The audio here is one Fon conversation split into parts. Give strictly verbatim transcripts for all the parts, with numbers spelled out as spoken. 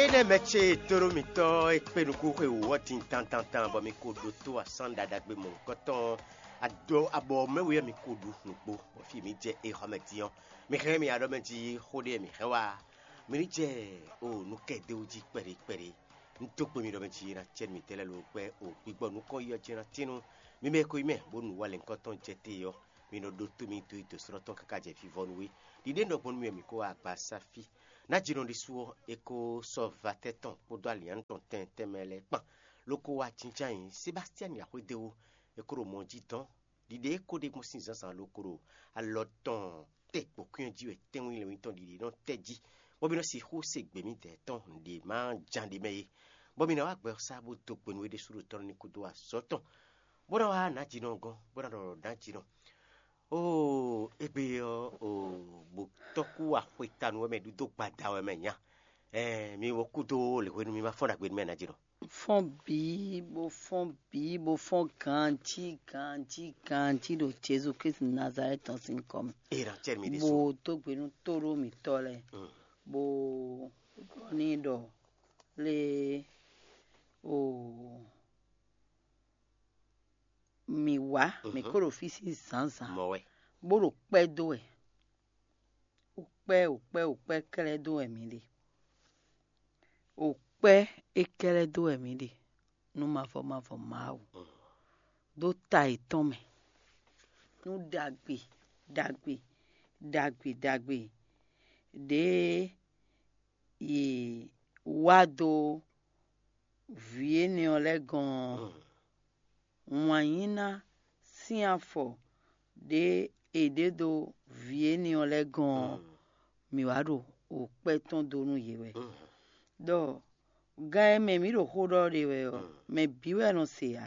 Énɛ́ mɛ ce tónú mitɔ́ e kpé nukún xwe wǔ ɔ́ din dandandan bɔ mi ko ɖótó asán ɖaɖagbe mɔ̌hunkɔtɔn ado abɔ mɛ wɛ mi ko ɖu nǔgbó, bɔ fí mi jɛ é xɔ mɛ din ɔ́, mi hɛn mi aɖɔ mɛ jí xó ɖé mi hɛn wá. Mi ní jɛ o nukɛdéwú jí kpɛɖé kpɛɖé. Un dó gbe mi ɖɔ mɛ jí ná cɛ mitɛ́ lɛ́ɛ ló gbɛ́ o gbigbɔ nukɔn yi ɔ́ jɛ ná tínú. Mi mɛ ko yi mɛ bónú wá lɛ̌nkɔ́tɔn jɛ te ɔ́, mi nɔ ɖótó mi dó yi dǒsrɔ́ tɔn káká jɛ vivɔnu wé. Ɖiɖe nɔ gbɔn nú mi ɔ́, mi kó wá agba sá fí. Ná jínɔ ɖésú ɔ́, é kó sɔ́ vatɛ́ tɔn kpódó alǐannu tɔn tɛntɛn mɛ lɛ́ɛ kpan, ló kó wá jínjɔ́n ayǐ Sebástiani axwédéwú, é kó ɖo mɔ jí dɔn. Ɖiɖe e ko ɖe gbɔn sín zǎnzǎn ló ko ɖo alɔ tɔn te gbǒkwín ɔ́ jí wɛ tɛ́nwún lɛ́nwí tɔn ɖiɖe nɔ tɛ́ jí, bɔ mi nɔ sixú se gbě midɛɛ tɔn ɖě ma ján ɖ'é mɛ é, bɔ mi ná wá gbɛ ɔ́ sá bó dó gbe nú é ɖésú ɖo tɔ́ ní kúdó azɔ̌ tɔn, bó ná wá nǎ jínɔ gɔ́n, bó ná ɖɔ nǎ jínɔ. Oo, égbé ɔ́, oo, bó tɔ́ kú axwetanu wɛ mɛ ɖu dó gbada wɛ mɛ nya. Ɛɛ, mi wo kúdó lěhwenu mi ma fɔ́n ɖagbe nú mɛ ná jínɔ. Fɔ́n bǐ, bó fɔ́n bǐ, bó fɔ́n ganjí, ganjí, ganjí ɖo Jezu Klísu Nazalɛ́ti tɔn sín kɔ mɛ. Ena cɛ́ mi ɖésú. Bó dó gbe nú tóɖó mǐtɔn lɛ́ɛ, bó ɖɔ n'i ɖɔ lé o mǐ wá, mǐ ko ɖo fí sín zǎnzǎn, mɔ wɛ. Bó ɖo kpɛ́ dó wɛ. Ukpɛ́, ukpɛ́, ukpɛ́ klɛ́ dó wɛ mǐ ɖe. Ukpɛ́ é klɛ́ dó wɛ mǐ ɖe. Nú mavɔ mavɔ Mawu, ɖó ta yětɔn mɛ, nú ɖagbe ɖagbe ɖagbe ɖagbe ɖě yě wá dó vǐ énɛ́ ɔ́ lɛ́ɛ gɔ́n ɔ́, wǎnyíná sín afɔ ɖě è ɖe dó vǐ énɛ́ ɔ́ lɛ́ɛ gɔ́n ɔ́, mǐ wá ɖo wǒkpɛ́ tɔn dó nú yě wɛ. Ɖɔ gan e mɛ mǐ ɖo xó ɖɔ ɖe wɛ ɔ́, mɛ bǐ wɛ nɔ se ǎ.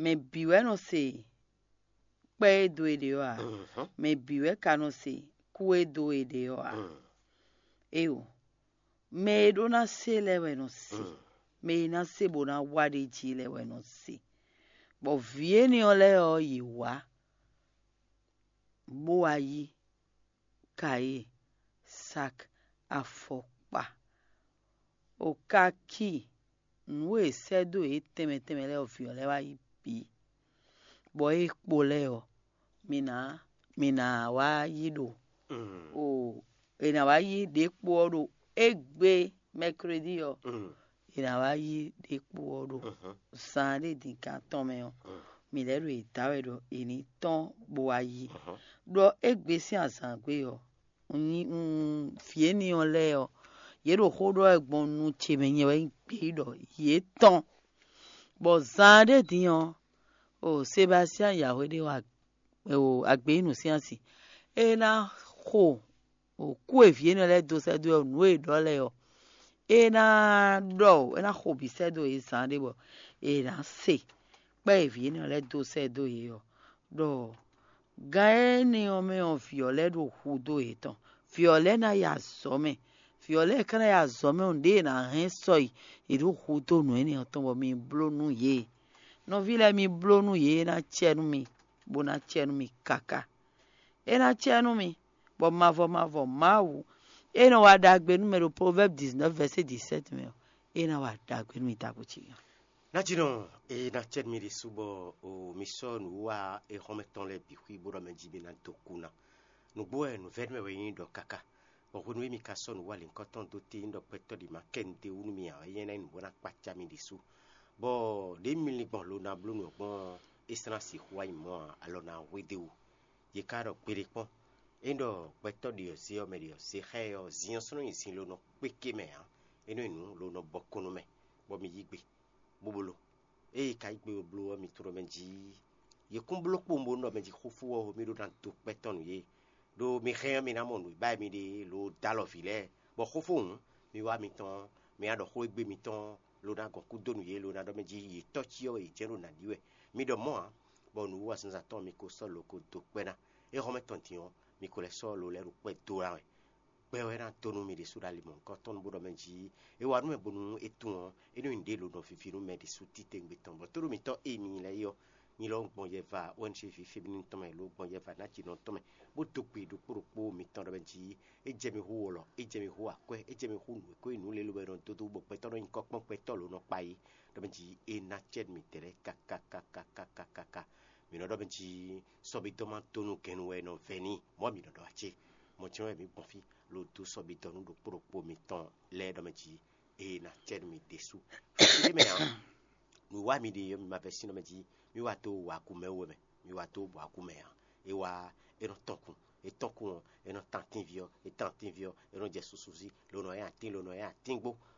Mɛ bǐ wɛ nɔ se kpɛ́ e dó e ɖe ɔ́ ǎ. Mɛ bǐ wɛ ka nɔ se kú e dó e ɖe ɔ́ ǎ. Éyo, mɛ e ɖó ná se lɛ́ɛ wɛ nɔ se. Mɛ e ná se bó ná wá ɖ'é jí lɛ́ɛ wɛ nɔ se. Bɔ vǐ énɛ́ ɔ́ lɛ́ɛ ɔ́, yě wá, bó wá yí kayée, sak, afɔkpa, okaki, nǔ e è sɛ́ dó yě tɛnmɛ tɛnmɛ lɛ́ɛ ɔ́, vǐ ɔ́ lɛ́ɛ wá yí bǐ, bɔ é kpo lɛ́ɛ ɔ́, mi ná mi ná wá yí ɖo o è nǎ wá yí ɖě kpo ɔ́ ɖo égbé mɛkredi ɔ́, è nǎ wá yí ɖě kpo ɔ́ ɖo zan ɖé din kan tɔn mɛ ɔ́, mǐ lɛ́ ɖo yě da wɛ ɖɔ è ní tɔ́n bó wá yí. Ɖɔ égbé sín azǎngbe ɔ́, un nyi un vǐ énɛ́ ɔ́ lɛ́ɛ ɔ́, yě ɖo xó ɖɔ wɛ gbɔn nu ce mɛ nyɛ wɛ nyí gbeyíɖɔ yě tɔn. Bɔ zan ɖé din ɔ́, o Sebastian Yahweh ɖé wa o agbeyínu sín asi. É ná xo o kú e vǐ énɛ́ lɛ́ɛ dó sɛ́ dó ɔ́, nǔ e è ɖɔ lɛ́ɛ ɔ́, é ná ɖɔ o, é ná xo bǐ sɛ́ dó yě zan ɖé bɔ è nǎ se kpɛ́ e vǐ énɛ́ lɛ́ɛ dó sɛ́ dó yě ɔ́, ɖɔ gan énɛ́ ɔ́ mɛ ɔ́, vǐ ɔ́ lɛ́ɛ ɖo hu dó yětɔn. Vǐ ɔ́ lɛ́ɛ ná yi azɔ̌ mɛ. Vǐ ɔ́ lɛ́ɛ ka ná yi azɔ̌ mɛ ɔ́, nǔɖé è nǎ hɛn sɔ yi, è ɖǒ hu dó nǔ énɛ́ ɔ́ tɔn bɔ mi bló nú yě. Nɔví lɛ́ɛ, mi bló nú yě, é ná cɛ nú mi, bó ná cɛ nú mi káká. É ná cɛ nú mi, bɔ mavɔ mavɔ Mawu e nɔ wa ɖagbe nú mɛ ɖo Proverbes dix-neuf verset dix-sept mɛ ɔ́, é ná wa ɖagbe nú mi ɖagbe ce. Najínɔ, e ná cɛ nú mi ɖésú bɔ o mi sɔ́ nǔwiwa e xɔ́mɛ tɔn lɛ́ɛ bǐ xwí bó ɖɔ mɛ jí mi ná dó kú ná. Nǔgbó wɛ nǔvɛ́nú wɛ nyí ɖɔ káká, bɔ hwenu e mi ka sɔ́ nǔwiwa lǐnkɔ́n tɔn dó te nyí ɖɔ gbɛtɔ́ ɖě ma kɛ nu d'é wú nú mi ǎ wɛ nyɛ ná nyí nǔ bó ná kpácá mi ɖésú. Bɔ ɖě mi lin gbɔn lo ná bló nǔ ɔ́ gbɔn ɔ́, é sɔ́ ná sixú wá nyí mɔ̌ ǎ, alɔ ná hwe d'é wú. Yě ka ɖɔ gbeɖé kpɔ́n. Ényí ɖɔ gbɛtɔ́ ɖě ɔ́ zé ɔ́, mɛ ɖě ɔ́ zé xá ɛ ɔ́, zin ɔ́ sɔ́ nɔ nyi zin lo nɔ kpé ké mɛ ǎ. É nɔ́ nyi nǔ lo nɔ bɔ kɔn nú mɛ, bɔ mi yí gbe, bó bló. Ée ka yí gbe bó bló ɔ́, mi tunwun ɖɔ mɛ jí yě kún bló kpowun bónú ɖɔ mɛ jí xófó ɔ́, mi ɖó ná dó kpɛ́ tɔn nú yě. Ɖó mi hɛn ɔ́, mi ná mɔ nǔ e ba wɛ mi ɖe lo dó alɔ vǐ lɛ́ɛ, bɔ xófó hǔn, mi wá mitɔn, mi ná ɖɔ xó e gbe mitɔn, lo ná gɔn kú dó nú yě, lo ná ɖɔ mɛ jí yě tɔ́ cyɔ wɛ yě jɛ́n ɖo nǎ ɖi wɛ. Mi ɖɔ mɔ̌ ǎ, bɔ nǔwiwa zǎnzǎn tɔn mi ko sɔ́ lo ko dó kpɛ́ ná. Éhɔ́mɛ tɔn din ɔ́, mi ko lɛ́ sɔ́ lo lɛ́ɛ ɖo kpɛ́ dó ná wɛ. Gbɛ wɛ ná dó nú mi ɖésú ɖo ali mɔ̌hunkɔtɔn bónú ɖɔ mɛ jí é wa nú mɛ bónú é tunwun ɔ́, é nɔ́ nyí ɖě lo nɔ vivi nú mɛ ɖésú titewungbe tɔn, bɔ tóɖó mitɔ́ e mi nyí lɛ́ɛ é ɔ́, Nyi lɔ gbɔn yɛva O N G ví féminin tɔn mɛ lo gbɔn yɛva ná jinɔ tɔn mɛ, bó dó gbe ɖokpó ɖokpó mitɔn ɖɔ mɛ jí é jɛ mi hú wɔlɔ, é jɛ mi hú akwɛ́, é jɛ mi hú nǔ e ko nyí nǔ lě lobo e nɔ dó dó bɔ gbɛtɔ́ nɔ nyí kɔ́kpɔ́n gbɛtɔ́ lǒ nɔ kpa yi ɖɔ mɛ jí é ná cɛ mi dɛ̌ lɛ́ɛ kákákákákákáká. Mǐ nɔ ɖɔ mɛ jí sɔ́bídɔ́ ma dó nú gɛnnu wɛ è nɔ vɛ́ n'i, mɔ̌ mǐ nɔ ɖɔ acé. Mɔ̌ jɛ́n wɛ mǐ gbɔn fí lo dó sɔ́bídɔ́ nú ɖokpó ɖokpó mitɔn lɛ́ɛ ɖɔ mɛ jí é ná cɛ nú mi ɖésú. Fí ɖé mɛ ǎ, nǔ wa mi ɖe ɔ́, mi ma vɛ́ sín ɔ́ mɛ jí, mi wá dó wǎkúmɛ wú wɛ mɛ, mi wá dó wǎkúmɛ ǎ. É wá é nɔ tɔn kun, é tɔn kun ɔ́, é nɔ tan atínví ɔ́, é tan atínví ɔ́, é nɔ jɛ susu sí, lo nɔ nyi atín, lo nɔ nyi atín gbó.